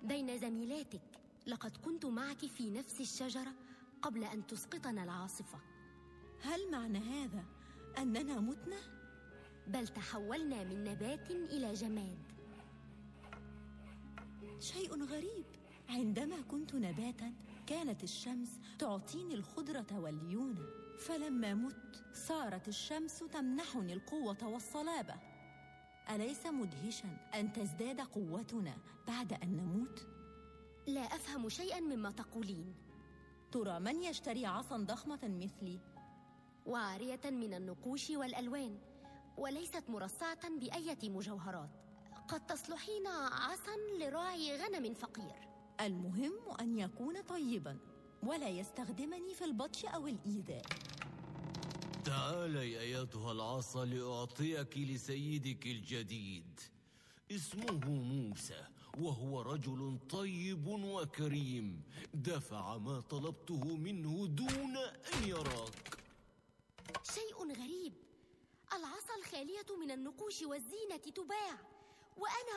بين زميلاتك. لقد كنت معك في نفس الشجرة قبل أن تسقطنا العاصفة. هل معنى هذا أننا متنا؟ بل تحولنا من نبات إلى جماد. شيء غريب، عندما كنت نباتاً كانت الشمس تعطيني الخضرة والليونة، فلما مت صارت الشمس تمنحني القوة والصلابة. أليس مدهشاً أن تزداد قوتنا بعد أن نموت؟ لا أفهم شيئاً مما تقولين. ترى من يشتري عصاً ضخمة مثلي؟ وعارية من النقوش والألوان، وليست مرصعة بأية مجوهرات. قد تصلحين عصاً لراعي غنم فقير. المهم أن يكون طيباً ولا يستخدمني في البطش أو الإيذاء. تعالي أيتها العصا لأعطيك لسيدك الجديد. اسمه موسى، وهو رجل طيب وكريم. دفع ما طلبته منه دون أن يراك. شيء غريب، العصا الخالية من النقوش والزينة تباع، وأنا